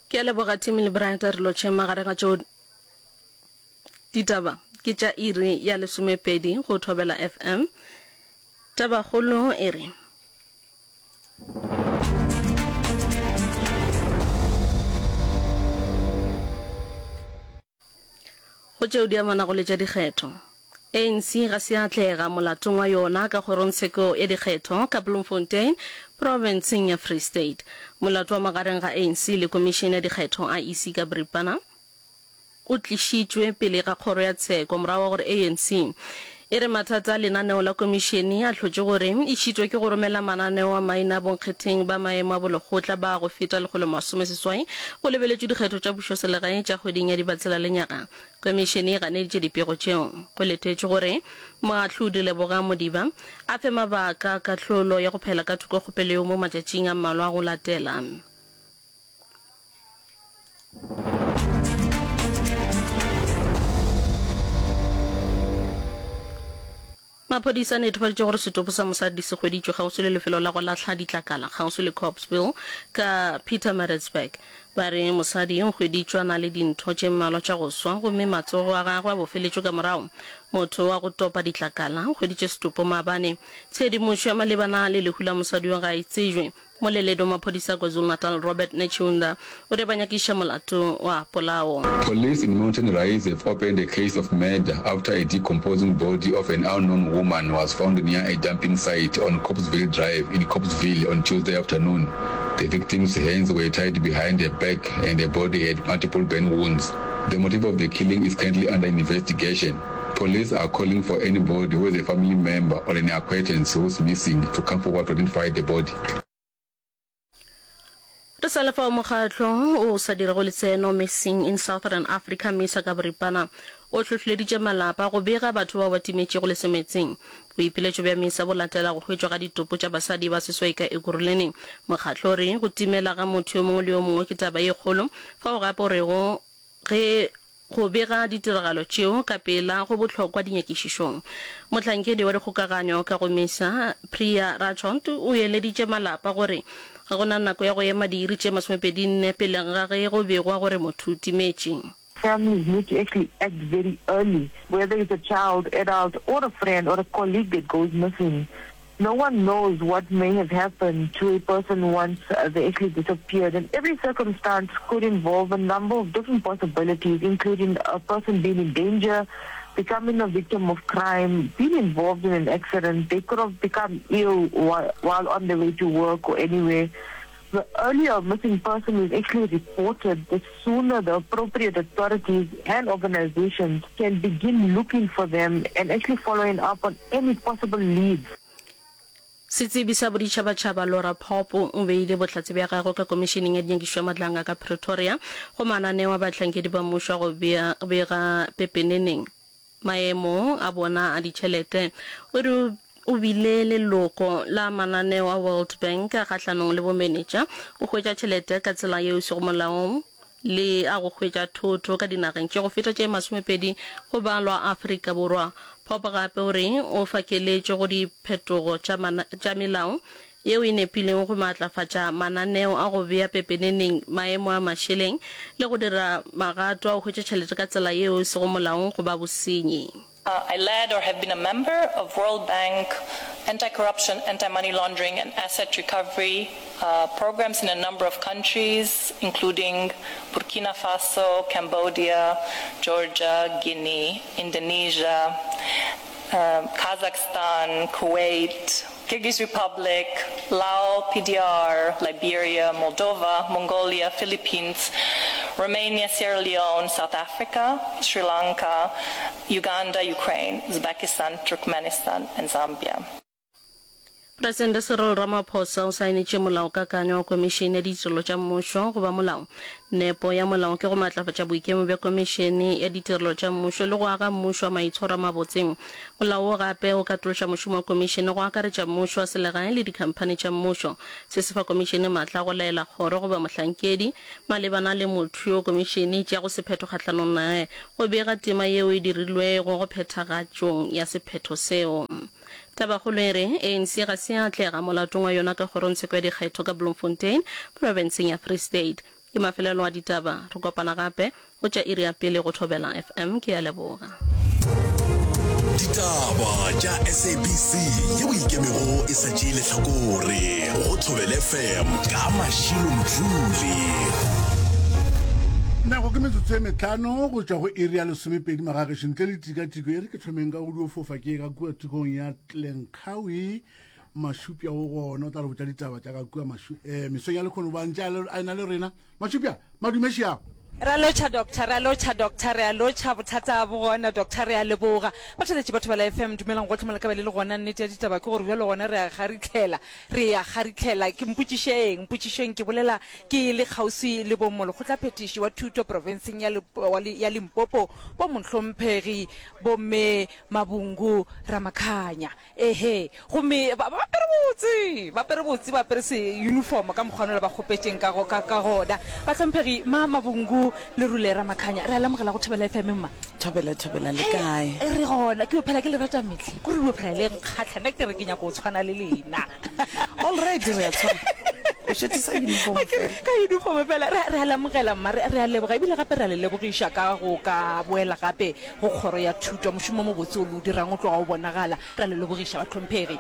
Ke a leboga Timmy le Bright a re lotšheng magareng ga tšeo ditaba ke tša iri ya lesomepedi go Thobela FM. Tabakgolo e re. Go tšeo di amanago le tša dikgetho, ANC ga se ya atlega molatong wa yona ka kgorongtsheko ya dikgetho ka Bloemfontein, profenseng ya Free State. Molato wa magareng ga ANC le Komišene ya Dikgetho, IEC, ka boripana o tlišitšwe pele ga kgoro ya tsheko morago ga gore ANC e re mathata a lenaneo la komišene a hlotše gore e šitwe ke go romela mananeo a maina a bonkgetheng ba maemo a bolekgotla ba go feta 180 go lebeletšwe dikgetho tša pušoselegae tša kgweding ya Dibatsela lenyaga. Komišene e ganeditše dipego tšeo. Go letetšwe gore Moahlodi Lebogang Modiba a fe mabaka a kahlolo ya go phela ka thoko kgopelo yeo mo matšatšing a mmalwa a go latela. Maphodisa a netefaditše gore setopo sa mosadi se hweditšwe kgauswi le lefelo la go lahla ditlakala kgauswi le Copesville ka Pietermaritzburg. Ba re mosadi o hweditšwe a na le dintho tše mmalwa tša go swa gomme matsogo a gagwe a bofeletšwe ka morago. Motho wa go topa ditlakala o hweditše setopo maabane. Tshedimošo ya malebana le lehu la mosadi yo ga e tsejwe. Moleledi wa maphodisa a KwaZulu-Natal Robert Netshiunda o re ba nyakišiša molato wa polao. Police in Mountain Rise have opened a case of murder after a decomposing body of an unknown woman was found near a dumping site on Copesville Drive in Copesville on Tuesday afternoon. The victim's hands were tied behind her back and her body had multiple burn wounds. The motive of the killing is currently under investigation. Police are calling for anybody who is a family member or an acquaintance who's missing to come forward to identify the body. Re sa le fao mokgatlo o sa dirego letseno Missing in Southern Africa, MISA ka boripana, o hlohleleditše malapa go bega batho bao ba timetšego lesemetseng. Boipiletšo bja MISA bo latela go hwetšwa ga ditopo tša basadi ba seswai ka Ekurhuleni. Mokgatlo o re go timela ga motho yo mongwe le yo mongwe ke taba ye kgolo, fao gape o rego Ge go bega ditiragalo tšeo ka pela go bohlokwa dinyakišišong. Mohlankedi wa dikgokaganyo ka go misa, Priya Rathod, o eleditše malapa gore ga go na nako ya go ema diiri tše masomepedi-nne pele ga ge go begwa gore motho o timetše. Families need to actually act very early, whether it's a child, adult or a friend or a colleague that goes missing. No one knows what may have happened to a person once uh, they actually disappeared. And every circumstance could involve a number of different possibilities, including a person being in danger, becoming a victim of crime, being involved in an accident. They could have become ill while, while on their way to work or anywhere. The earlier a missing person is actually reported, the sooner the appropriate authorities and organizations can begin looking for them and actually following up on any possible leads. Setsebi sa boditšhabatšhaba Laura Pope o beile bohlatse bja gagwe ka Komišeneng ya Dinyakišišo ya Matlanga ka Pretoria go mananeo a bahlankedi ba mmušo a go bega pepeneneng maemo a bona a ditšhelete. O re o bile leloko la mananeo a World Bank a kgahlanong le bomenetša, go hwetša tšhelete ka tsela yeo e sego molaong le a go hwetša thoto ka dinageng tše go feta tše masomepedi go balwa Afrika Borwa. Pope gape o re o fa keletšo go diphetogo tša melao yeo e nepilego go maatlafatša mananeo a go bea pepeneneng maemo a mašeleng le go dira magato a go hwetša tšhelete ka tsela yeo e sego molaong go ba bosenyi. I led or have been a member of World Bank anti-corruption, anti-money laundering and asset recovery programs in a number of countries, including Burkina Faso, Cambodia, Georgia, Guinea, Indonesia, Kazakhstan, Kuwait, Kyrgyz Republic, Lao PDR, Liberia, Moldova, Mongolia, Philippines, Romania, Sierra Leone, South Africa, Sri Lanka, Uganda, Ukraine, Uzbekistan, Turkmenistan and Zambia. Presidente Cyril Ramaphosa o saenetše Molaokakanywa wa Komišene ya Ditirelo tša Mmušo go ba molao. Nepo ya molao ke go matlafatša boikemo bja Komišene ya Ditirelo tša Mmušo le go aga mmušo wa maitshwaro a mabotse. Molao wo gape o katološa mošomo wa Komišene go akaretša mmušo wa selegae le dikhamphani tša mmušo. Se se fa Komišene maatla a go laela kgoro goba mohlankedi malebana le motho yo Komišene e tšeago sephetho kgahlanong naye go bega tema yeo e dirilwego go phethagatšong ya sephetho seo. Tabakgolo e re, ANC ga se ya atlega molatong wa yona ka kgorongtsheko ya dikgetho ka Bloemfontein, profenseng ya Free State. Ke mafelelo a ditaba. Re kopana gape go tša iri ya pele go Thobela FM. Ke a leboga. Ditaba tša SABC yeo e ikemego e sa tšee lehlakore go Thobela FM ka Mashilo Mdluli. Nako ke metsotso e metlhano go tšwa go iri ya lesomepedi magagešo ntle le tikatiko e re ke thomeng ka go dio fofa ke ka kua thokong ya Tlenkgawi Mašupja o gona o tla re botša ditaba tša ka kua mašu eh, mesong ya lekgono ba ntše a ena le rena Mašupja madumeši ao Re a lotšha Doctor, re a lotšha Doctor, re a lotšha, bothata bo gona Doctor, re a leboga. Batheeletši ba Thobela FM, dumelang gohle mo le ka be le le gona. Nnete ya ditaba ke gore bjalo gona re a kgaritlhela, re a kgaritlhela. Ke mpotšišeng, mpotšišeng, ke bolela ke le kgauswi le bo Molekgotlaphethiši wa Thuto profenseng ya, ya Limpopo, bo Mohlomphegi Bomme Mabungu Ramakhanya. Ehe, gomme ba, ba apere botse, ba apere botse, ba apere se uniform ka mokgwa nola ba kgopetšeng ka, ka, ka gona. Bahlomphegi, ma, Mabungu, Lerule, Ramakhanya, re a lemogela go Thobela FM, mma. Thobela, thobela, le kae? Re gona, ke yo phela ke le rata mehle, kore le yo phela le nkgahla, nna ke re ke nyaka go tshwana le lena. All right, re a tshwana. O šetše sa uniform fela. Ka uniform fela. Re, re a lemogela, mma, re, re a leboga, ebile gape re a le lebogiša ka go ka boela gape Go Kgoro ya Thuto, mošomo o mobotse o le o dirang o tloga o bonagala. Re a le lebogiša, bahlomphegi.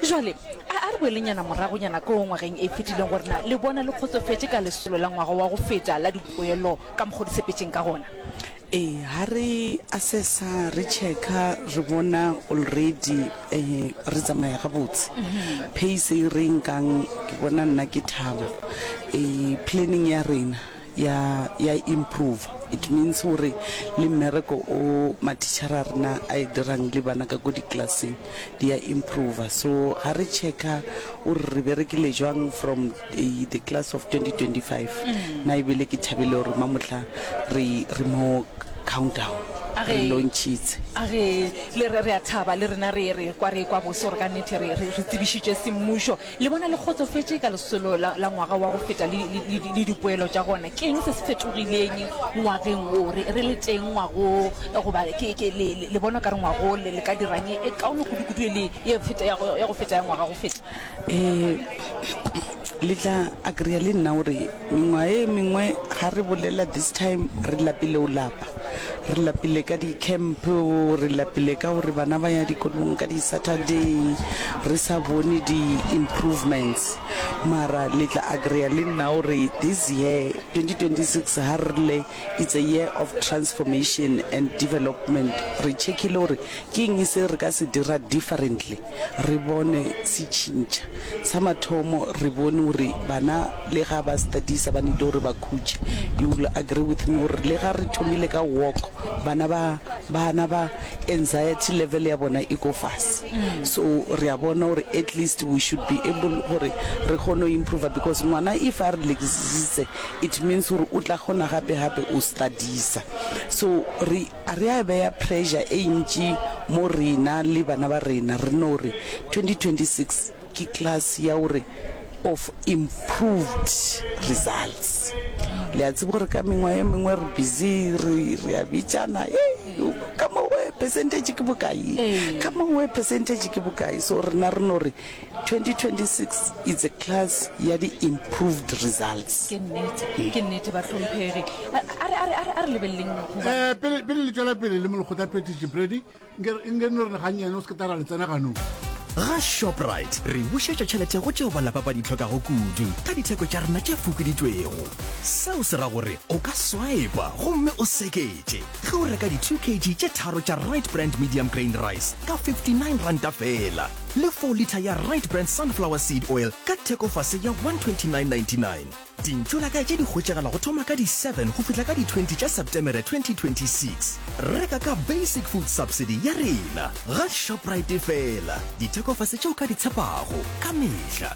Jwale, a, a re boelenyana moragonyana koo ngwageng e fetileng gore na le bona le kgotsofetše ka lesolo la ngwaga wa go feta la dipoelo ka mokgo di sepetšeng ka gona? Ee, ha re assessa, re checka, re bona already eh, re tsamaya gabotse. Pace e re e nkang, ke bona nna ke thaba. Eh, planning ya rena ya ya improve it means gore le mmereko o mathichara a rena a e dirang le bana ka ko diklaseng di ya improve so ga re checka o re re berekile jwang from the, the class of 2025 na ebile ke thabile gore mamohla re re mo countdown re launchitse a re le re re a thaba le rena re re kwa re kwa bose gore ka nnete re re re tsebišitše semmušo Le bona le kgotsofetše ka lesolo la, la ngwaga wa go feta le, le, le, le dipoelo tša gona? Ke eng se se fetogileng ngwageng wo? Re, re le teng ngwago, goba ke, ke, le, le, le bona o ka re ngwago le, le ka dirang e, e kaone kudu-kudu e le ye feta, ya go, ya go feta ya ngwaga go feta? Eh, le tla agree le nna gore mengwaga e mengwe ga re bolela this time re lapile o lapa. Re lapile ka di-camp, re lapile ka gore bana ba ya dikolong ka di-Saturday, re sa bone di-improvements. Mara le tla agree-a le nna gore this year, 2026, ha re rile it's a year of transformation and development, re check-ile gore ke eng se re ka se dira differently, re bone se tšhintšha. Sa mathomo re bone gore bana le ga ba studiesa ba need gore ba khutše. You will agree with me gore le ga re thomile ka walk bana ba bana ba anxiety level ya bona e ko fase. So re a bona gore at least we should be able gore re kgone go improver because ngwana if a relaxitse it means gore o tla kgona gape gape o studiesa. So re A re a beya pressure e ntši mo rena le bana ba rena, re no re 2026 ke class ya gore of improved results. Le a tseba gore ka mengwaga e mengwe re busy re re a bitšana, hey, ka mo we percentage ke bokae, ka mo we percentage ke bokae. So rena re no re 2026 it's a class ya di improved results. Ke nnete, ke nnete bahlomphegi. A re, a re, a re, a re lebeleleng go ba. Eh, pele pele le tšwela pele le molekgotla phethiši Brady, nke nke no re gannyane o se ke tara le tsena ganong. Ga Shoprite, re bušetša tšhelete go tšeo ba lapa ba di hlokago kudu ka ditheko tša rena tše fokoditšwego. Seo se ra gore o ka swipa gomme o seketše ge o reka di 2 kg tše tharo tša Rite Brand Medium Grain Rice ka R59 feela. Le 4 litha ya Rite Brand Sunflower Seed Oil ka thekofase ya R129.99. Dintšolakae tše di hwetšagala go thoma ka di 7 go fihla ka di 20 tša Septemere 2026. Reka ka Basic Food Subsidy ya rena ga Shoprite feela. Dithekofase tše o ka di tshepago ka mehla.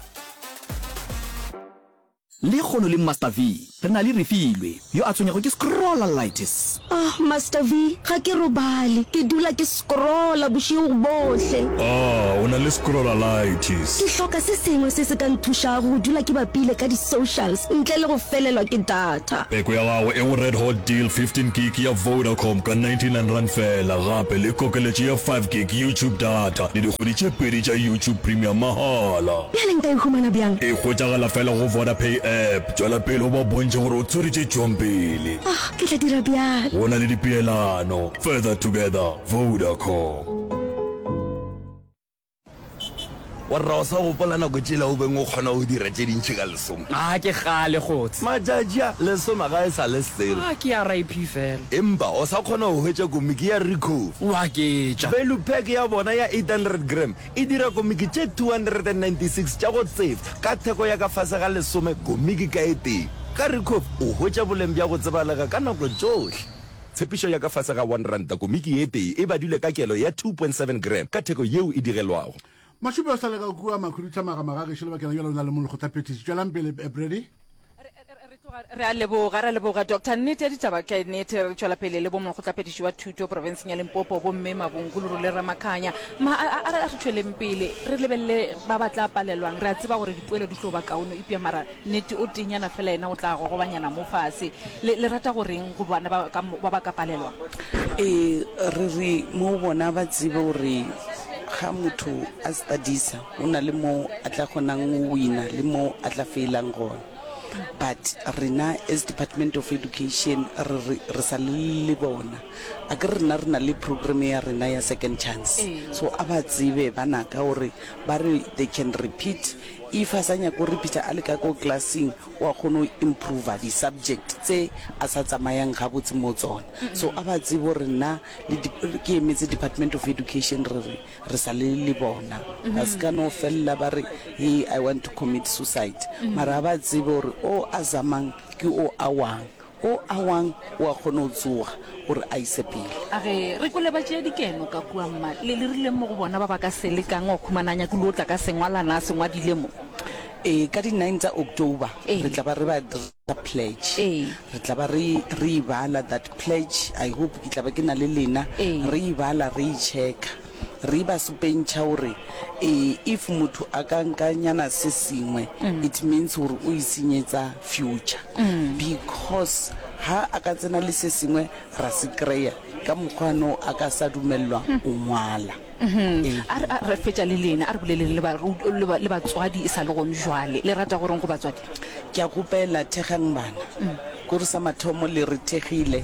Lekgono le Master V, re na le Refilwe, yo a tshwenyago ke scrollalitis. Ah, Master V, ga ke robale. Ke dula ke scrolla bošego bohle. Ah, o na le scrollalitis. Ke hloka se sengwe se se ka nthušago go dula ke bapile ka di-socials ntle le go felelwa ke data. Peko ya gago e go Red Hot Deal 15 gig ya Vodacom ka R99 feela, gape le kokeletšo ya 5 gig YouTube data le dikgwedi tše pedi tša YouTube Premium mahala. Bjale nka e humana bjang? E hwetšagala fela go Vodapay. app, tšwela pele o ba bontšhe gore o tshwere tše tšwang pele. Oh, ke tla dira bjalo. Go na le dipeelano. Further together, Vodacom. Warra o sa gopola nako tšela o beng o kgona go dira tše dintši ka lesome? A ke kgale kgotse. Matšatši a, lesome ga e sa le selo. A ke RIP fela. Empa o sa kgona go hwetša komiki ya Ricoh. O aketša. Value pack ya bona ya 800 gram e dira komiki tše 296 tša go tsefa ka theko ya ka fase ga lesome komiki ka e tee. Ka Ricoh o hwetša boleng bja go tsebalega ka nako tšohle. Tshepišo ya ka fase ga R1 komiki ye tee e badilwe ka kelo ya 2.7 gram ka theko yeo e digelwago. Mašupe o sa le ka kua Makhuduthamaga magagešo lebakeng la bjale o na le molekgotlaphethiši. Tšwelang pele, Brady. Re a leboga, re a leboga Doctor. Nnete ya ditaba ke nnete, re tšwela pele le bo molekgotlaphethiši wa thuto profenseng ya Limpopo, bomme Mabungu Lerole Ramakhanya. Ma, a, a, a re tšweleng pele re lebelele ba ba tla palelwang. Re a tseba gore dipoelo di tlo ba kaone, eupša mara Nnete, o tenyana fela yena o tla gogobanyana mo fase. Le, le rata go reng go bana ba ka, ba ba ka palelwa? Ee, re re mo bona ba tsebe gore ga motho a studisa go na le mo a tla kgonang go wina le mo a tla failang gona. But rena as Department of Education re re re sa le le bona. Akere rena re na le program ya rena ya second chance. So a ba tsebe banaka gore ba re they can repeat If a sa nyake go repeater a le ka ko classeng wa kgona go improver di subject tse a sa tsamayang gabotse mo tsona. So a ba tsebe gore nna le ke emetse department of education re re re sa le le bona. Ba se ka no fella ba re hey I want to commit suicide. Mara a ba tsebe gore o a zamang ke o a wang. O a wang o a kgona go tsoga gore a ise pele. A re, Re kwele ba tšea dikeno ka kua, mma. Le, le rileng mo go bona ba ba ka se lekang wa khumana a nyakile go tla ka sengwalana a se ngwadile mo? Ee, ka di nine tsa October Ee. re tla ba re ba dira pledge. Ee. Re tla ba re, re e bala that pledge, I hope ke tla ba ke na le lena, Ee. re e bala re e checka. Re ba supentšha gore e if motho a ka nka nyana se sengwe it means gore o itshenyetsa future because ha a ka tsena le se sengwe ra se kry-a ka mokgwa no a ka sa dumelelwa go ngwala. Ee. A re, a re fetša le lena, a re boleleng le ba, le ba, le batswadi e sa le gone jwale. Le rata go reng go batswadi? Ke a kgopela, thekgang bana. Kore sa mathomo le re thekgile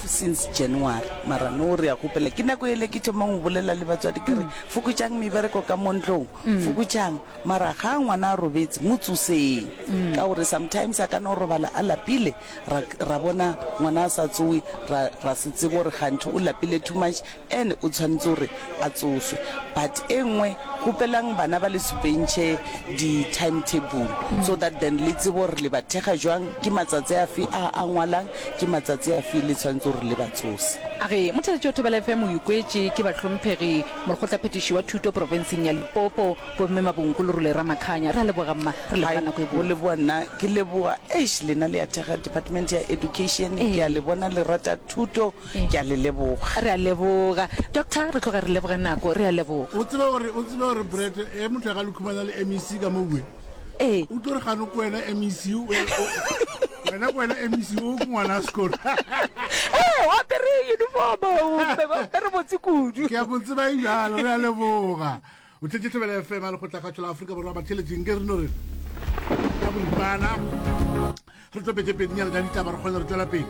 since January, mara no re a kgopela. Ke nako yele ke thomang go bolela le batswadi ke re, fokotšang mebereko ka mo ntlong, fokotšang. Mara ga ngwana a robetse, mo tsoseng. Ka gore sometimes a ka no robala a lapile, ra, ra bona ngwana a sa tsowe, ra, ra se tsebe gore kganthe o lapile too much And o tshwanetse gore a tsoswe. But e nngwe, kgopelang bana ba le supentšhe di time table so that then le tsebe gore le ba thekga jwang, ke matsatsi afe a a ngwalang, ke matsatsi afe le tshwanetse gore le ba tsose. A re, Motheeletši wa Thobela FM o ikwetše ke bahlomphegi molekgotlaphethiši wa thuto profenseng ya Limpopo, Bomme Mabonko Lerole Ramakhanya. Re a leboga mma, re leboga Hai, nako e go botse. leboga nna. Ke leboga, eish lena le a thekga department ya education, ke a le bona le rata thuto. Ke a le leboga. Re a leboga. Doctor, re tloga re leboga nako. Re a leboga. O tsebe gore, o tsebe gore Brett, e motho a ka le khumana le MEC ka mo bue. Ee. O tlo re gano ko wena MEC, o, wena ko wena MEC o ke ngwana sekolo. Ee, o apere uniform, o apere botse kudu. Ke a mo tseba e bjalo, re a leboga. O tletše Thobela FM ya Lekgotlakgatšo la Afrika Borwa batheeletšing ke re no re ka boripana re tlo pete pedinyana tša ditaba re kgone re tšwela pele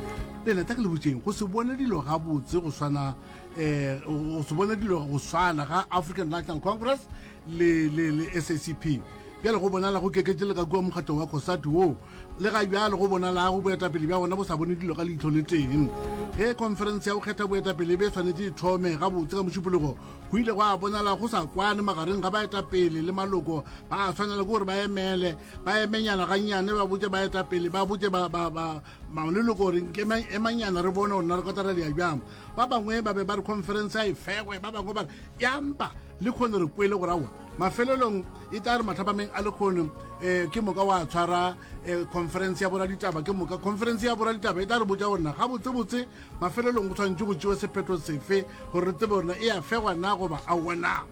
lena tla ke le botšeng go se bone dilo gabotse go swana um go se bone dilo go swana ga African National Congress le le le SACP bjale go bonala go keketše le ka kua mokgatlong wa COSATU woo le ga bjale go bonalago boetapele bja gona bo sa bone dilo ka leihlo le teng ge conference ya go kgetha boetapele e be e swanetše e thome gabotse ka mošupologo Go ile gwa bonala go sa kwane magareng ga baetapele le maloko. Ba swanela ke gore ba emele, ba emenyana gannyane, ba botše baetapele, ba botše ba, ba, ba, maleloko gore nke emanyana re bone gore na re kotara dia bjang. Ba bangwe ba be ba re conference a e fegwe, ba bangwe ba re ya mpa le kgone re kwele gore aowa. Mafelelong e tla re mathapameng a lekgono um eh, ke moka wa tshwara um conference ya boraditaba ke moka conference ya boraditaba e tla re botša gore na gabotsebotse Mafelelong go swanetše go tšewe sephetho sefe gore re tsebe gore na e a fegwa na goba aowa na?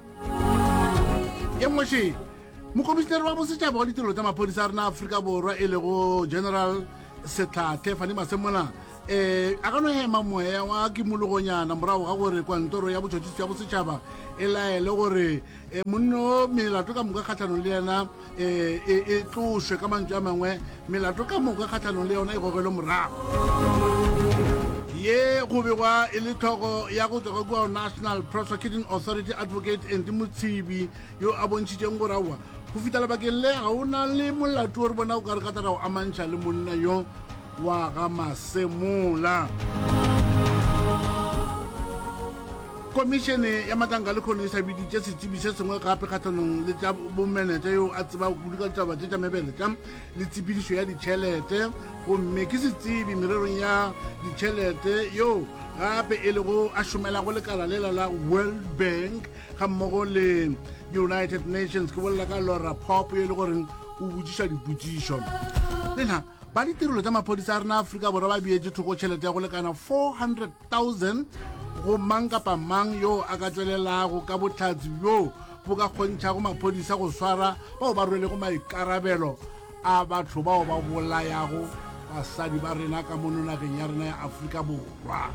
Ye nngwe še, Mokomišinare wa Bosetšhaba wa Ditirelo tša Maphodisa a rena Afrika Borwa e lego General Setlhathe Fani Masemola. um a ka no hema moya wa kimologonyana morago ga gore kwantoro ya botšhotšhisi ya bosetšhaba e laele gore um monno melato ka moka kgatlhanong le yena um e, e tlošwe ka mantšu a mangwe melato ka moka kgatlhanong le yona e gogelwe morago ye go begwa e le tlhogo ya go tswa kua national prosecuting authority advocate andy motshibi yo a bontšhitšeng gore aowa go fihla lebakeng le ga o na le molato o re bona o ka re ka tla ra go amantšha le monna yo wa ga masemola komišene ya matlanka le kgono e sa biditše setsebi se sengwe gape kgatlhanong le tša bomenetša yo a tseba kudu ka ditaba tše tša mebeletša le tshepedišo ya ditšhelete gomme ke setsebi mererong ya ditšhelete yo gape e lego a šomelago lekala lela la world bank ga mmogo le united nations ke bolela ka laura pop yo e le goreng o botšiša dipotšišo lena ba ditirelo tša maphodisa a rena aforika borwa ba beetše thoko tšhelete ya go lekana 400,000 go mang kapa mang yo a ka tšwelelago ka bohlatse bjo bo ka kgontšhago maphodisa go swara bao ba rwelego maikarabelo a batho bao ba bolayago basadi ba rena ka mono nageng ya rena ya Afrika Borwa.